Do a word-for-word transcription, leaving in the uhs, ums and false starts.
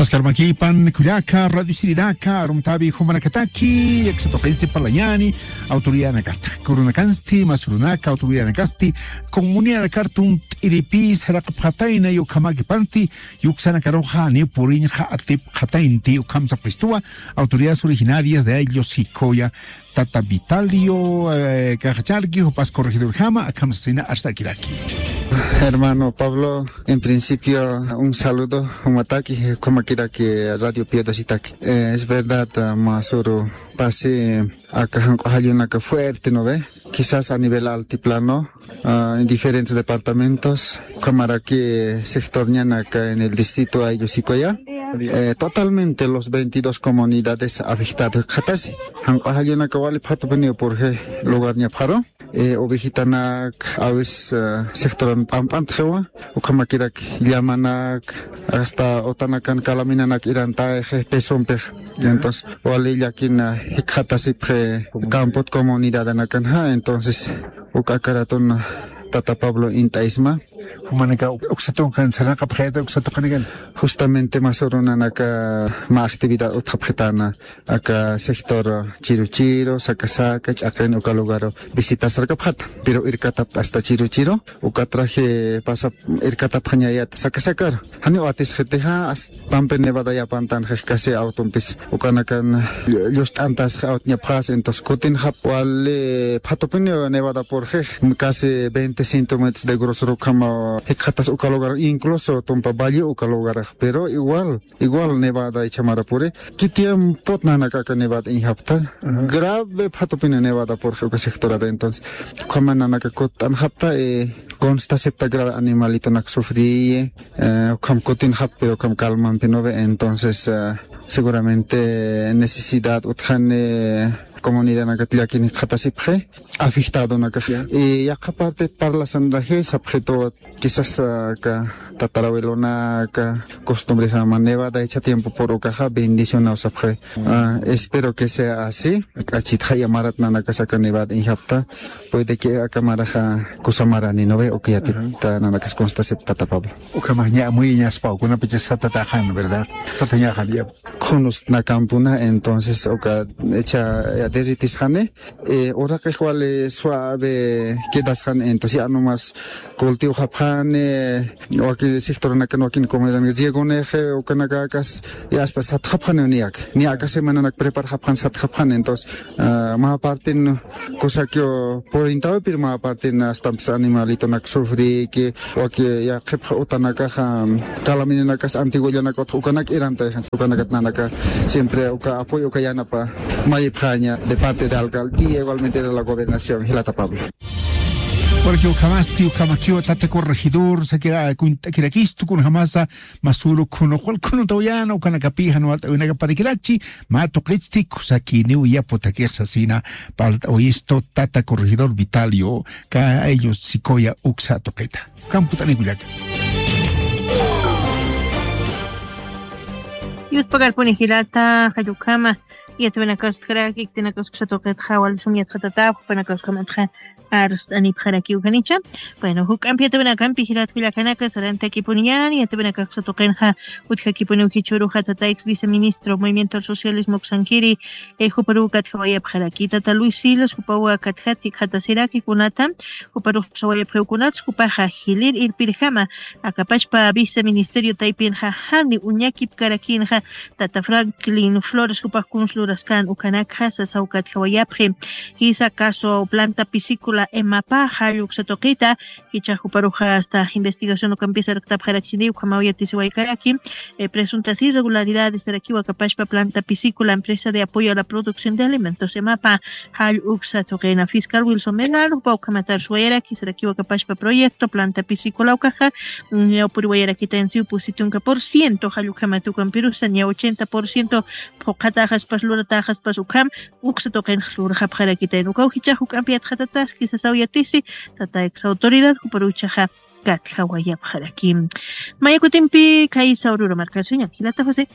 Askarmakipan kullaka, radio sirinaka, arumtabi jumanakataki, aksa tuqinsti parlañani, autoridadnakata, kurunakansti, masurunaka, autoridadnakasti, comunidad kartun t'iripi, saraqapxatayna, yukhamakipansti, yuksanakaruxa, ni puriñxa, atipxataynti, ukham sapxistuwa, autoridades originarias de Ayllu Sikoya, Tata Vitalio, eh, Cajacharqui, jupas corregidorjama, akham sasina arsakiraki. Hermano Pablo, en principio, un saludo, jumataki, jumakiraki, Radio Piedasitaki. Eh, es verdad, ah, masuru pasi, aka janq'u jallunaka fuerte, ¿no ve? Quizás a nivel altiplano, ah, en diferentes departamentos, ukhamaraki sector ñanaka en el distrito Ayllu Sikoya, eh, totalmente los veintidós comunidades afectadas jikxatasi. Janq'u jallunaka wali phatupiniw purje lugar ñapxaru. Eh, ovejitanak, a veces, eh, sectoran p'amp'antxiwa, ukhamakirak llamanak, hasta utanakan calaminanak irantayxi pesompix. Entonces, wali llakin, eh, jikxatasipxi campot comunidadanakanxa, entonces, uka akaratun, tata Pablo int'aysma. Jumanaka uk-, uksa tunkan sarnaqapxayta uksa tuqinikan. Justamente masürunanaka mä actividad utjapxitäna, aka sector Chiruchiru, Sakasaka, Ch'aqin uka lugaru visitasarkapxata. Pero irkatap hasta Chiruchiru, uka traje pasap irkatapxañayat Sakasakaru. Janiw atisxitixa, hasta Tampe Nevada yapantan jix casi autompis ukanakan llu-, llust'antasxi aut ñapxas, entonces kutinxap wali phatupini Nevada purxix, casi veinte centímetros de grosor ukhama jikxatas uka lugar, incluso tumpa valle uka lugarax, pero igual, igual Nevada ichamara puri, ¿qué tiempot nanaka aka Nevada iñjapta? Ajá. Grave phatupini Nevada purxi uka sectorara, entonces, ukhama nanaka kutt'anxapta, eh, consta acepta grave animalitonak sufriyi, eh, ukham kutinxap, pero ukham calmampi no ve, entonces, eh, seguramente necesidad utjani comunidadnakat llakin jikxatasipxi, afectadonakax. Ya. Y yaqha parte parlasanraji sapxitu, quizás, ah, aka tatarabuelonaka costumbresama Nevada icha tiempo pur ukaxa bendicionaw sapxi. Ah, espero que sea así. K'achitxa ya marat nanakas aka Nevada iñjapta. Puede que aka maraxa kusa marani, ¿no ve? Uka yatipta nanakas consta acepta, tata Pablo. Ukhamax ña amuyiñaspaw, kunapachas satataxan, ¿verdad? Satañaxan, ya. Khunustnakampuna, entonces, uka, echa, ya, derritisxani, eh, uraqix wali suave quedasxan, entonces, ya nomás cultivo japxani, waki sectornakan wakin comunidad, riegonix, ukanakakas, ya hasta satxapxani niyak, ni aka semananak preparxapxan, satxapxan, entonces, ah, mä partin, Kusakiw purintawi, pero mä partin hasta animalitonak sufriki, waki yaqhipxa utanakaxa, calaminakas antiguollanak utx ukanak irantayxan, ukanakat nanaka siempre uka apoyo, uka yanapa mayipxaña de parte de alcaldía, igualmente de la gobernación, jilata Pablo. Porque ukhamasti, ukhamakiwa tata corregidor, sakira, kunt'akirakistu, kunjamasa, masüru khunu, qul khunu tawayana, ukanakapi, jan walt'awinakaparakirakchi, mä tuqitsti, kusakiniw yaputakix sasina, parlt'awistu tata corregidor Vitalio, ka Ayllu Sikoya uksa tuqita. Ukham kutt'anikullaka. Yuspakarpuni jilata, jall ukhama, yatawinakaspxaraki, khitinakasksa tuqitxa, wali sum yatxatatapxi, jupanakaskhamatxa, arst'anipxarakiw janicha. Bueno, juk'ampi yatawinakampi jilat kullakanaka, sarantakipuniñäni, yatawinakaksa tuqinxa, utjakipuniw jichhüruxa tata ex viceministro Movimiento al Socialismo uksankiri, eh, juparuw katjawayapxaraki. Tata Luis Silos, jupaw katjat jikxatasiraki kunata, juparux sawayapxiw kunats, jupaxa jilïr irpirjama, aka pachpa viceministerio taypinxa, jani uñakipkarakinxa, tata Franklin Flores, jupax kuns luraskän ukanakxa, sasaw katjawayapxi. Jisa caso planta piscícola EMAPA, jall uksa tuqita, jichhax juparuxa hasta investigación ukampis arktapxarakchini, ukhamaw yatisiwaykaraki, eh, presuntas irregularidades sarakiwa aka pachpa planta piscícola, empresa de apoyo a la producción de alimentos, EMAPA, jall uksa tuqina. Fiscal Wilson Bernal, jupaw ukhamat arsuwayaraki, sarakiwa aka pachpa proyecto, planta piscícola ukaxa, mm, ñawpuriwayarakitayansiw pusi tunka por ciento, jall ukhamat ukampirusa, ña ochenta por ciento phuqhatäxaspas, luratäxaspas ukham, uksa tuqinx lurxapxarakitayan. Ukaw jichhax juk'ampi yatxatataski sasaw yatisi, tata ex autoridad, juparuw jichhaxa katjawayapxaraki. Maya kutimpi, khaysa ururu markasiñan, jilata José.